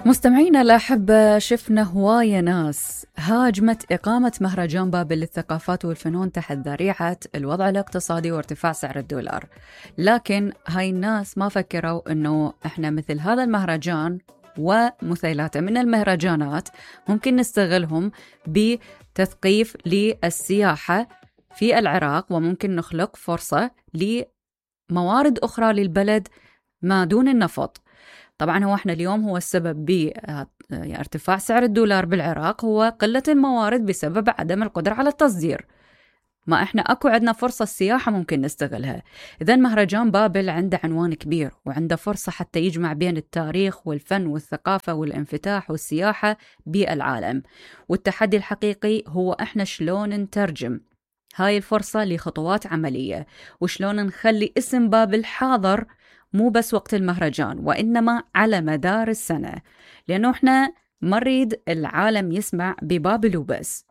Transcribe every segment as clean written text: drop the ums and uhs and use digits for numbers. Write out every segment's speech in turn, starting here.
مستمعينا الأحبة، شفنا هواية ناس هاجمت إقامة مهرجان بابل للثقافات والفنون تحت ذريعة الوضع الاقتصادي وارتفاع سعر الدولار. لكن هاي الناس ما فكروا أنه إحنا مثل هذا المهرجان ومثيلاته من المهرجانات ممكن نستغلهم بتثقيف للسياحة في العراق، وممكن نخلق فرصة لموارد أخرى للبلد ما دون النفط. طبعا هو احنا اليوم هو السبب بارتفاع سعر الدولار بالعراق هو قلة الموارد بسبب عدم القدرة على التصدير. ما احنا اكو عندنا فرصة السياحة ممكن نستغلها. اذا مهرجان بابل عنده عنوان كبير وعنده فرصة حتى يجمع بين التاريخ والفن والثقافة والانفتاح والسياحة بالعالم. والتحدي الحقيقي هو احنا شلون نترجم هاي الفرصة لخطوات عملية، وشلون نخلي اسم بابل حاضر مو بس وقت المهرجان وإنما على مدار السنة، لأنه إحنا ما نريد العالم يسمع ببابل وبس،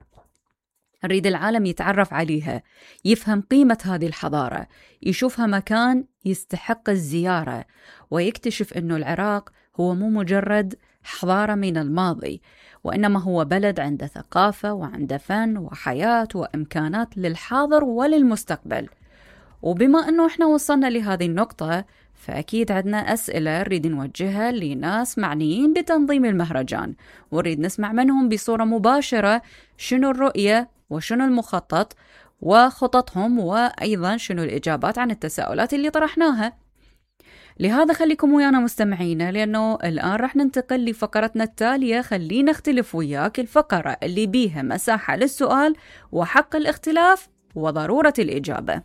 نريد العالم يتعرف عليها، يفهم قيمة هذه الحضارة، يشوفها مكان يستحق الزيارة، ويكتشف أنه العراق هو مو مجرد حضارة من الماضي، وإنما هو بلد عنده ثقافة وعنده فن وحياة وإمكانات للحاضر وللمستقبل. وبما أنه إحنا وصلنا لهذه النقطة، فأكيد عندنا أسئلة نريد نوجهها لناس معنيين بتنظيم المهرجان، ونريد نسمع منهم بصورة مباشرة شنو الرؤية وشنو المخطط وخططهم، وأيضا شنو الإجابات عن التساؤلات اللي طرحناها. لهذا خليكم ويانا مستمعينا، لأنه الآن رح ننتقل لفقرتنا التالية. خلينا نختلف وياك، الفقرة اللي بيها مساحة للسؤال وحق الاختلاف وضرورة الإجابة.